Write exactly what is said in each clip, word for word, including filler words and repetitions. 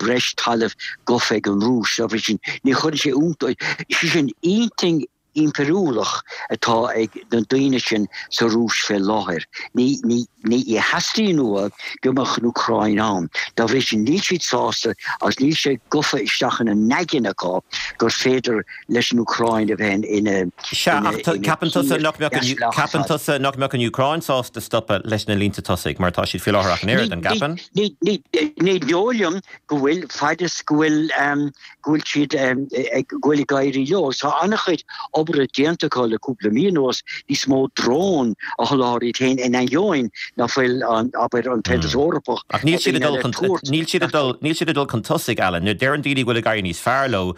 breis talaimh gafa ag an Rúis. Dá bhrí sin ní chuireann sé iontas, sé sin intinn impiriúlach atá ag na daoine sin sa Rúis fé láthair. Ní ní ní theastaíonn uathu go mbeadh an Úcráin ann. Dá bhrí sin níl siad sásta agus níl sé gafa isteach ina n-aigne acu gur féidir leis an Úcráin a bheith ina Sea, ach ceapann tusa nach mbeadh an ceapann tusa nach mbeadh an Úcráin sásta stopadh leis na línte tosaigh mar tá siad faoi láthair ach an oiread, an gceapann? Ní ní ní dóigh liom go bhfuil fad is go bhfuil go bhfuil siad ag go bhfuil ag éirí leo. Tá an-chuid obair déanta acu le cúpla mí anuas níos mó drón a sholáthar iad féin in ainneoin nach bhfuil an abair an tAontas Eorpach Ach níl siad ag dul chun níl siad ag dul níl siad ag dul chun tosaigh Alan. Nuair deireann daoine go bhfuil ag éirí níos fearr leo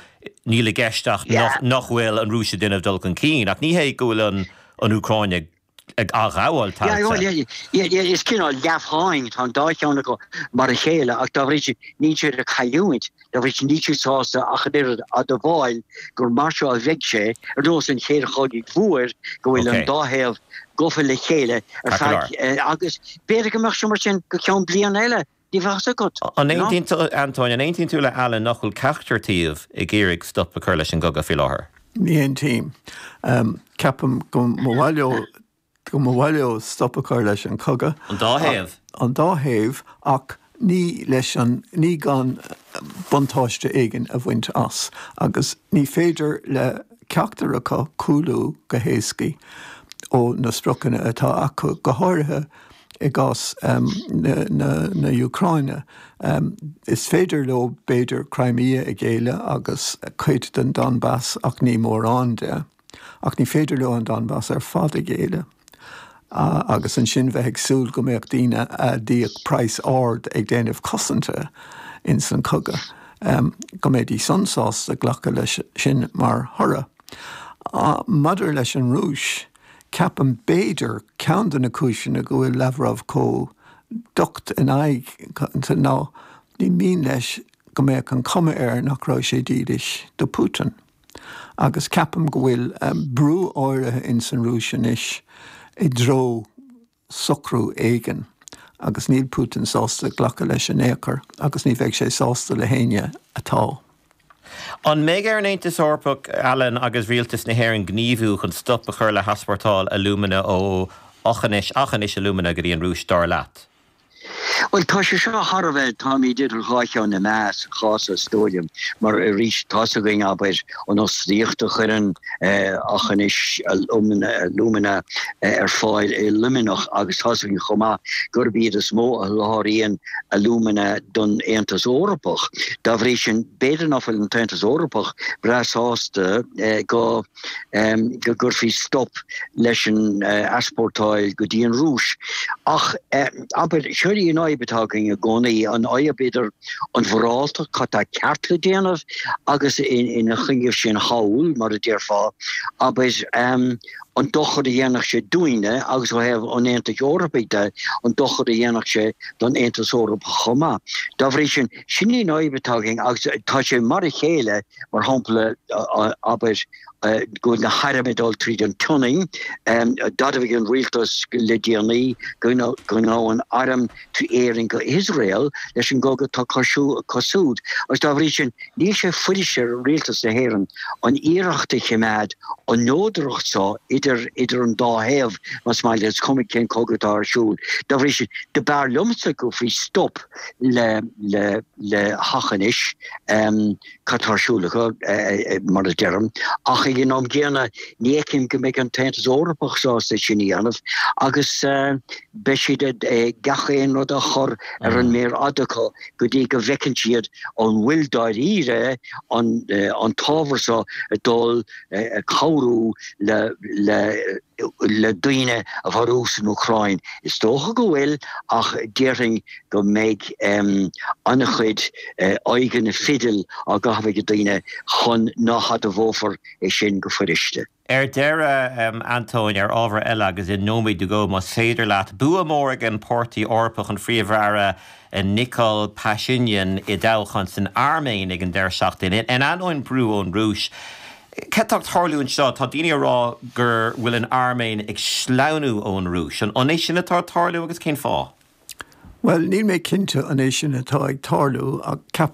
níl i gceist ach nach nach bhfuil an Rúis ag déanamh dul chun cinn, ach ní hé go bhfuil an an Úcráin ag ag athghabháil tailte. Is cineál leathpháing tá an dá cheann acu mar a chéile ach dá bhrí sin níl siad ag cailliúint, dá bhrí sin níl siad sásta ach an oiread admháil gur mar seo a bheidh sé ar nós an chéad chogaidh mhóir go bhfuil an dá thaobh gafa le chéile ar feadh agus b'fhéidir go mbeadh sé mar sin go ceann bliana eile, ní bheadh a fhios agat. An aontaíonn tú Antóin, an aontaíonn tú le Alan nach bhfuil ceachtar taobh ag iarraidh stop a chur leis an gcogadh faoi láthair? Ní aontaím. Ceapaim go mba mhaith leo go mba mhaith leo stop a chur leis an cogadh. An dá thaobh? An dá thaobh ach ní leis an ní gan buntáiste éigin a bhaint as agus ní féidir le ceachtar acu cúlú go héasca ó na spriocanna atá acu go háirithe i gcás um, na, na, na Úcráine. Um, is féidir leo b'fhéidir Crimea a ghéilleadh agus cuid den Donbass ach ní mórán de. Ach ní féidir leo an Donbass ar fad a ghéilleadh. Uh, agus ansin bheith ag súil go mbeadh daoine a d'íoc praghas ard ag déanamh cosanta in san cogadh. Um, go mbeidís san sásta glacadh leis sin mar thoradh. Uh, Maidir leis an Rúis, ceapaim b'fhéidir ceann de na cúiseanna go bhfuil Lavrov chomh docht in aghaidh ná ní mian leis go mbeadh an cuma air nach raibh sé dílis do Putin. Agus ceapaim go bhfuil um, brú áirithe in san Rúis anois i dtreo socrú éigin. agus níl Putin sásta glacadh leis in aon chor agus ní bheidh sé sásta le héinne atá. An mbeidh ar an Aontas Eorpach Alan agus rialtas na hÉireann gníomhú chun stop a chur le heaspórtáil alúmana ó Aughinish Aughinish Alumina go dtí an Rúis dar leat. Well tá sé seo thar a bheith táimid idir dhá cheann na meá sa chás is dóigh liom mar arís tá a fhios againn abair an fhostaíocht a chuireann Aughinish Alumina ar fáil i Luimneach agus tá a fhios againn chomh maith gurb iad is mó a sholáthraíonn alúmana don Aontas Eorpach. Dá bhrí sin b'fhéidir nach bhfuil an tAontas Eorpach breá sásta go go gcuirfí stop leis an easpórtáil go dtí an Rúis. Ach abair seo í an fhadhb atá againn i gcónaí an fhadhb idir an mhoráltacht cad tá ceart le déanamh agus ina choinne sin thall mar a déarfá abair um, an dochar a dhéanfadh sé dúinne agus ó thaobh an Aontais Eorpaigh de an dochar a dhéanfadh sé don Aontas Eorpach chomh maith. Dá bhrí sin sin í an fhadhb atá againn agus tá sé mar a chéile mar shampla abair go na hairm ag dul tríd an tSionainn d'admhaigh an rialtas le déanaí go ngabhann airm trí Éirinn go Iosrael leis an gcogadh atá acu siúd. Agus dá bhrí sin níl sé fuirist ar rialtas na hÉireann an iarracht a choimeád an neodracht seo idir idir an dá thaobh más maith is cuma cén cogadh atá ar siúl. Dá bhrí sin do b'fhearr liomsa go gcuirfí stop le le le hAughinish um, cad tá ar siúl acu mar a deirim ach ag an am gcéanna ní fheicim go mbeidh an tAontas Eorpach sásta sin a dhéanamh agus uh, beidh siad gach aon rud a chur ar an méar fhada acu go dtí go bhfeiceann siad an bhfuil dáiríre an uh, an t-ábhar seo ag dul uh, cabhrú le le le daoine a mharú san Úcráin. Is dócha go bhfuil ach déarfainn go mbeidh um, an-chuid uh, aghaidheanna fidil á gcaitheamh ag daoine chun nach n-admhófar é sin go fuiriste. Ar deireadh um, Antóin ar ábhar eile agus i nóiméad go más féidir leat bua mór ag an Páirtí Eorpach an Phríomh-Aire Nikol Pashinyan i dtoghchán san Airméin ag an deireadh seachtaine. In ainneoin brú ón Rúis. Cad tá ag tarlú anseo tá daoine ag rá gur bhfuil an Airméin ag sleamhnú ón Rúis. An é sin atá ag tarlú agus cén fáth? Well, níl mé cinnte an é sin atá ag tarlú ach ceap